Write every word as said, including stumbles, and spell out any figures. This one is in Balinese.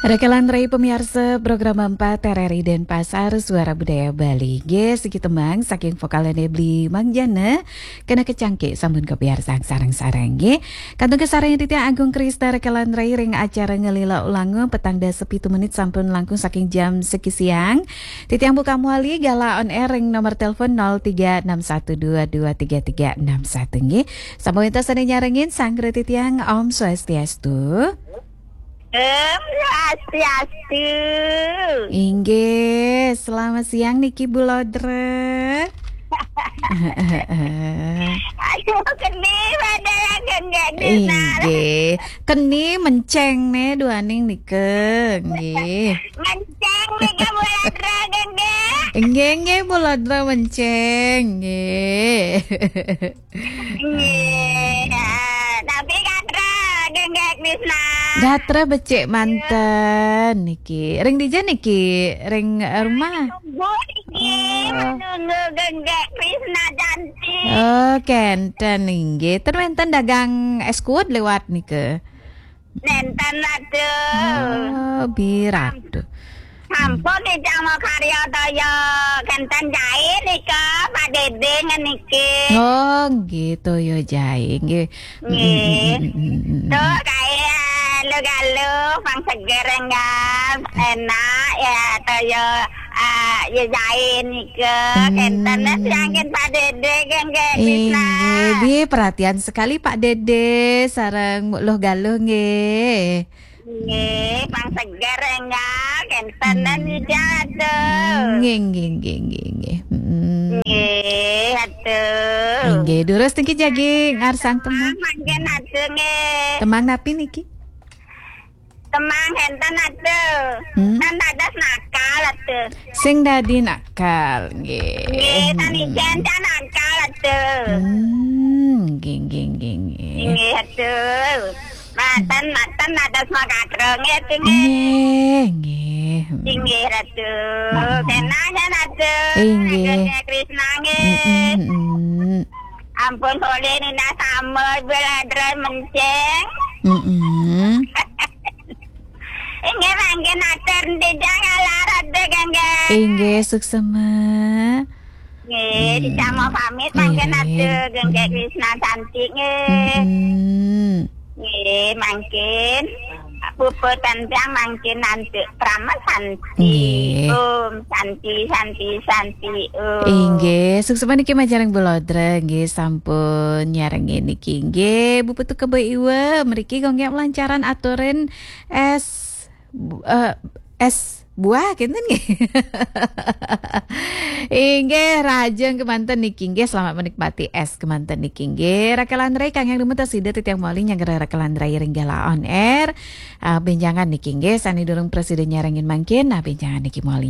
Rekan-rekan pemiarsa program empat R R I Denpasar, Suara Budaya Bali. Nggih, siki tembang saking vokalne Bli Mangjana, kena kecangke sampun kepiarsang sareng-sareng nggih. Kantun kasareng titiang Agung Krista rekan-rekan ring acara Ngelila Ulangu petang dasa pitu menit sampun langkung saking jam siki siang. Titiang buka mawali galah on air ring nomor telepon nol tiga enam satu dua dua tiga tiga enam satu nggih. Sampun wenten sane nyarengin sanggra titiang, Om Swastiastu. Om Swastiastu. Inggih, selamat siang niki Bu Lodra. Aduh, keni pada yang genggak di sana. Inggih, keni menceng ne duaning nika. Nggih. Menceng nika Bu Lodra genggak. Inggih, inggih, Bu Lodra menceng. Nggih. Nggih. Ah, tapi gatra genggak Krisna. Gatra becik manten niki. Ring dija niki? Ring, eh, rumah? Nunggu niki, oh, nunggu genggak Krisna cantik. Oh, kenten inggih. Ten wenten dagang es kuwet liwat nika? Nenten, Ratu. Oh, bi Ratu. Sampun titiang makarya toya kenten jae nika, Pak Dede ngeniki. Oh, nggih, toya jae, nggih. Nggih. Mm, mm, mm, mm, mm. Tuh, kae, eh, aluh-aluh, pang seger, enggak? Enak, ya, toya, eh, ya, jae nika. Hmm. Kenten, eh, siangin Pak Dede, nggih, nggih, Krisna. Inggih, bi perhatian sekali Pak Dede, sareng Luh Galuh, nggih. Nggih, pang seger, enggak? Kenten, hmm, ija, tuh. Nggih, nggih, nggih, nggih, nggih. Mm. Nggih, aduh. Inggih, durus niki jagi ngarsang tembang. Mangkin aduh, nggih. Tembang napi niki? Tembang kenten aduh. Hmm? Tan dados nakal aduh. Sing dadi nakal, nggih. Nggih, tan ijen tan nakal aduh. Hmm, nggih, nggih, nggih, nggih. Nggih, aduh. Maten, maten, dados makadro, nggih, nggih. Nggih, nggih. Inggih, Ratu. Hmm. Senang, ya, Ratu. Inggih. Ageng Krisna, nggih. Mm, mm, mm. Ampun, boleh nina sama, beladra menceng. Mm, mm. Inggih, mangkin atur, dijang ala, Ratu, nggih. Inggih, suksema. Nggih, hmm, dicamo pamit mangkin, nggih, atur, nggih, Krisna cantik, nggih. Hmm. Nggih, mangkin. Puput tentang mangkin nanti Prama Santi. Nggih. Om Santi, Santi, Santi, Om. Inggih, suksema niki majeng ring Bu Lodra, nggih, sampun nyarengin niki. Nggih, Bu Putu Kebo Iwa, mriki Gung Gek lancaran aturin es bu-, eh, es buah, kenten nggih. Inggih, rahajeng kemanten niki nggih, selamat menikmati es kemanten niki nggih. Rekan-rekan kang yang dumun, sida titiang mawali nyanggra rekan-rekan ring Gala On Air. Ah, benjangan niki nggih, sane durung prasida nyarengin mangkin, nah, benjangan niki mawali.